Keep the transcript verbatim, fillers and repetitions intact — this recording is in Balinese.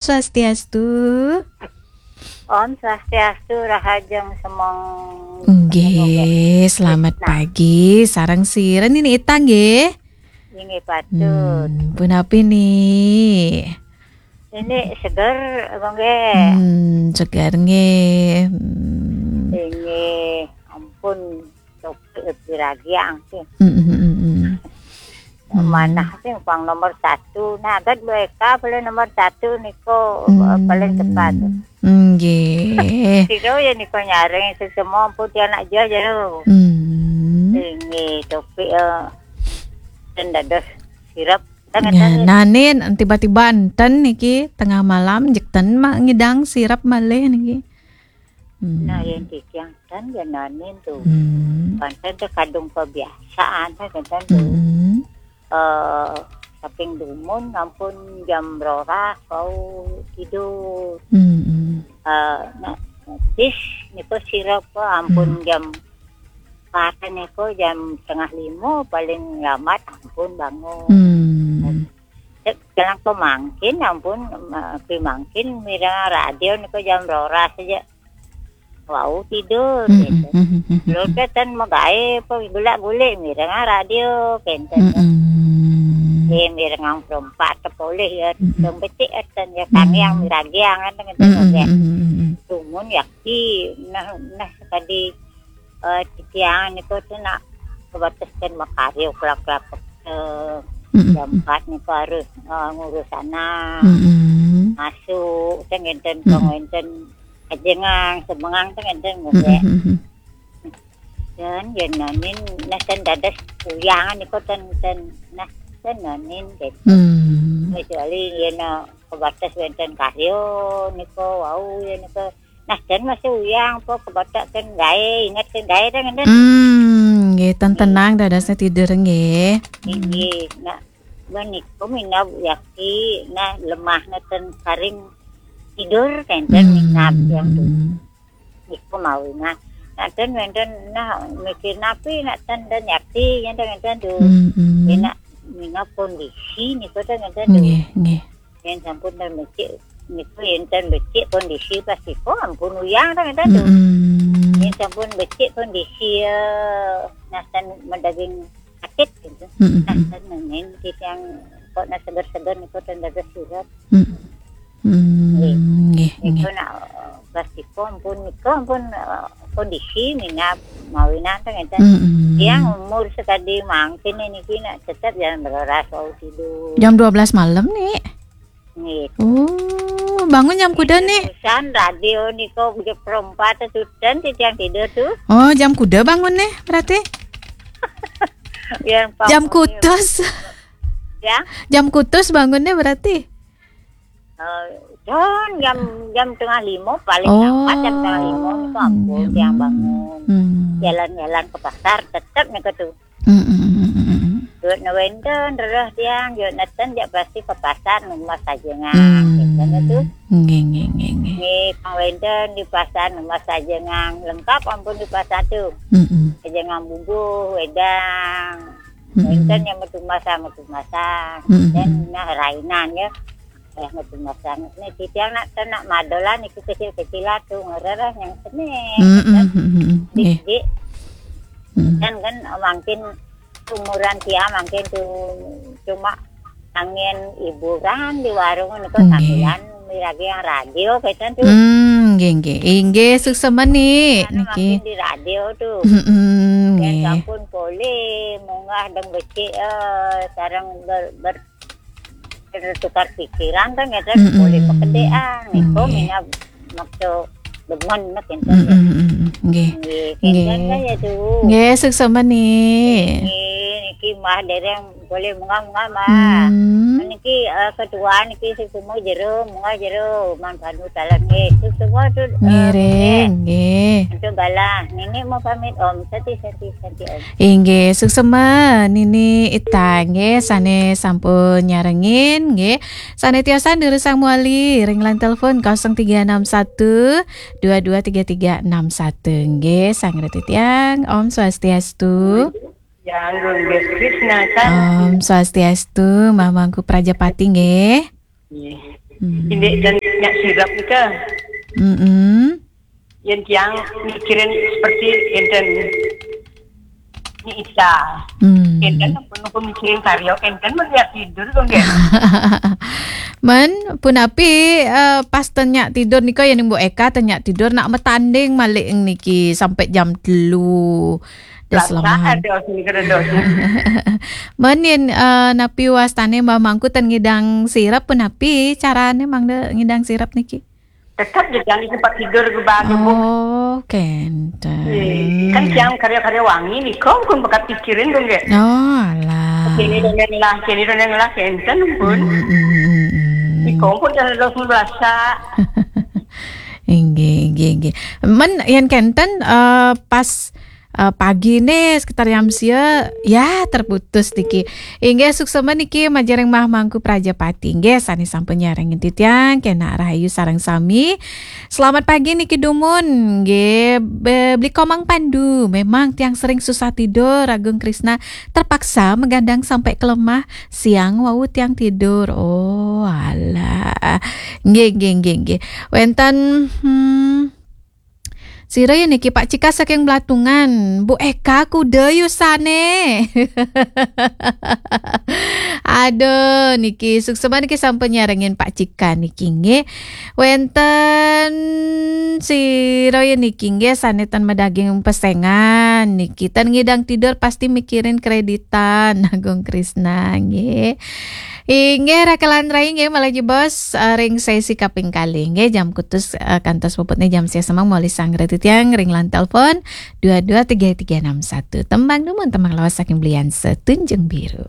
Swastiastu. Om Swastiastu, rahajeng semeng. Nggih, selamat pagi. Sareng sira niki Ita nggih? Inggih patut. Hmm, punapi nih? Ini seger apa nggih? Hmm, seger nggih. Hmm. Inggih, ampun, sok piragi sih. Hmm, hmm, hmm, hmm. Manah sih pang nomor satu. Nah, kan B K boleh nomor satu niko, Hmm. Paling cepat. Nggih. Sira ya niko nyareng sesemo ampun tiang nak jero. Hmm. Inggih, tapi eh ten dados sirep. Ten Ya, ngeten. Nanin tiba-tiba enten niki tengah malam jek ten mak ngidang sirep malih niki. Hmm. Nah, yang titiang ten ya Nanin tuh. Hmm. Panten teh kadung kebiasaan teh ten tuh. Hmm. Eh, saking dumun ampun jam roras wau tidur. Hmm. Eh, nah, bis niko sirep ampun jam empat niko jam setengah lima paling lambat ampun bangun. Hmm. Cek jalan pemangkin ampun, eh, pemangkin mireng radio niko jam roras aja. Wau tidur Hmm, gitu. hmm, hmm, hmm, Lho hmm. Keten megawe apa gulak-gulik mireng radio kenten. Hmm. Eh, mireng perempat tepoleh ya, Mm-mm. dong becik eten ya kami yang Hmm. miragi angan dengan Hmm, hmm, dengan. hmm, hmm, hmm. Dumun yakti nah nah tadi eh titiang niku tuh nak kebataskan makaryo kelak-kelak eh, Hmm, hmm, jam empat niku harus eh, ngurus anak hmm, hmm. masuk teh ngenten Mm-mm. pengenten ajengang semengang teh ngenten Hmm, ngombe. hmm, hmm. Dan yen nanin nah ten dadas uyangan niku ten ten nah ten nanin gitu. Hmm. Kecuali yen eh, kebatas wenten karyo niku wau yen niku nah ten masih uyang apa kebatas ten gawe inget ten gawe ten ngenten. Hmm, nggih, ten tenang dadasnya tidur nggih. Inggih, nah, meniku minab yakti, nah lemah ten karing tidur kenten minab yang tu. Hmm. Niku mawi nah. Nah ten wenten nah mikir napi nak ten dan yakti yang ten ngenten tu. Hmm, hmm. Yen nak minab kondisi niku ten ngenten tu. Nggih, nggih. Yen sampun ten becik niku yen ten becik kondisi pasti kok ampun uyang ten ngenten tu. Hmm. Yen sampun becik kondisi eh, nah ten medaging sakit gitu. Hmm, Nah, hmm. ten nemen titiang kok nak seger-seger niku ten dados sirep. Hmm. Hmm, nggih, Niku nggih. nak pasti kok ampun niku ampun eh, kondisi minab mawinan ten ngenten. Hmm, hmm. Yang umur sekali mangkin niki nak tetap jangan beroras wau tidur. Jam dua belas malam nih. Nggih. Oh, bangun jam kuda nih. Terusan radio niku jam perempat tuh ten titiang tidur tuh. Oh, jam kuda bangun nih berarti. Yang Jam kutus. Ya. Jam kutus bangunnya berarti. Eh, John jam jam tengah lima paling Oh. lambat jam tengah lima itu ampun tiang bangun. Hmm. Jalan-jalan ke pasar tetap niku tuh. Hmm, hmm, hmm, hmm, hmm. Duit wenten rereh tiang, duit neten jak pasti ke pasar nembas sajengan. Hmm. Gitu tuh. Nggih, nggih, nggih, nggih. Nggih, kang wenten di pasar nembas sajengan. Lengkap ampun di pasar tuh. Hmm, hmm. Sajengan bubuh, wedang. Hmm. Wenten yang metu masak, metu masak. Hmm. Dan nah rainan ya. Eh, metu masak. Nih titiang nak nak madolan itu kecil-kecilan tuh ngerereh yang seni. Hmm, hmm, hmm, hmm, hmm. Nggih. Dik-dik. Hmm. Dan kan mangkin umuran tiang mangkin tuh cuma angin hiburan di warung niku Nggih. sambilan miragi yang radio keten tuh. Hmm, nggih, nggih. Inggih, suksema nih. Karena Niki. Mangkin di radio tuh. Hmm, Ya nggih. sampun polih munggah deng becik eh, sareng ber, ber, bertukar pikiran kan ya kan Mm-mm. polih pekedean. Niku Nggih. Mina makso demen nek enten. Hmm, hmm, hmm, hmm. Nggih. Nggih, Nggih. kenten kan ya tuh. Nggih, suksema nih. Nggih, niki mah dereng boleh munggah-munggah mah. Hmm. Niki eh, ketua niki semua jero, munggah jero, man panu talam nggih. Itu semua tuh eh, Ngiring, nggih. Untuk galah, Nini mau pamit Om, santi santi santi Om. Inggih, suksema Nini Ita nggih sane sampun nyarengin nggih. Sane tiosan durusang muali ring line telepon kosong tiga enam satu dua dua tiga tiga enam satu nggih. Sang reti tiang, Om Swastiastu. Yang Gung Krishna kan. Om Swastiastu, Mamangku Prajapati nggih. Nggih. Hmm. Ini dan nyak sirap nika. Hmm. Yen tiang mikirin seperti enten Ni Isa. Hmm. Enten pun pun mikirin karya, enten melihat tidur kok nggih. Men, punapi, eh, pas ten nyak tidur nika, yen Bu Eka ten nyak tidur, nak metanding malih niki sampai jam telu. Dah selama. Ada sini kada ada. Men yen, eh, napi wastane Mbah Mangku ten ngidang sirap, punapi carane mangda ngidang sirap niki? Tetap je jangan di tempat tidur ke bang. Oh, kenten. Kan tiang karya-karya wangi nih, kok pun bekat pikirin tuh nggih. Oh, alah. Kini dongeng lah, kini dongeng lah, kenten pun. Hmm, hmm, hmm, hmm. Di kompor jangan ada langsung berasa. Inggih, inggih, inggih. Men yen kenten, eh, pas, eh, pagi nih sekitar jam sia, ya terputus niki. Inggih, suksema niki majeng ring Mbah Mangku Prajapati. Inggih, sane sampun nyarengin titiang, kenak rahayu sareng sami. Selamat pagi niki dumun. Nggih, be-, beli Komang Pandu. Memang tiang sering susah tidur, Agung Krisna. Terpaksa megadang sampai kelemah. Siang wau tiang tidur. Oh, alah. Nggih, nggih, nggih, nggih. Wenten, hmm, sira ya niki Pak Cika saking Belatungan. Bu Eka kuda yusane. Aduh, niki suksema niki sampun nyarengin Pak Cika niki nggih. Wenten sira ya niki nggih sane ten madaging pesengan niki. Ten ngidang tidur pasti mikirin kreditan. Agung Krisna nggih. Inggih, rakelan rai nggih, malih jebos, eh, ring sesi kaping kalih nggih, jam kutus, eh, kantos puputne jam sia semeng malih sanggra titiang ring line telepon dua dua tiga tiga enam satu. Tembang dumun, tembang lawas saking Belian Setunjung Biru.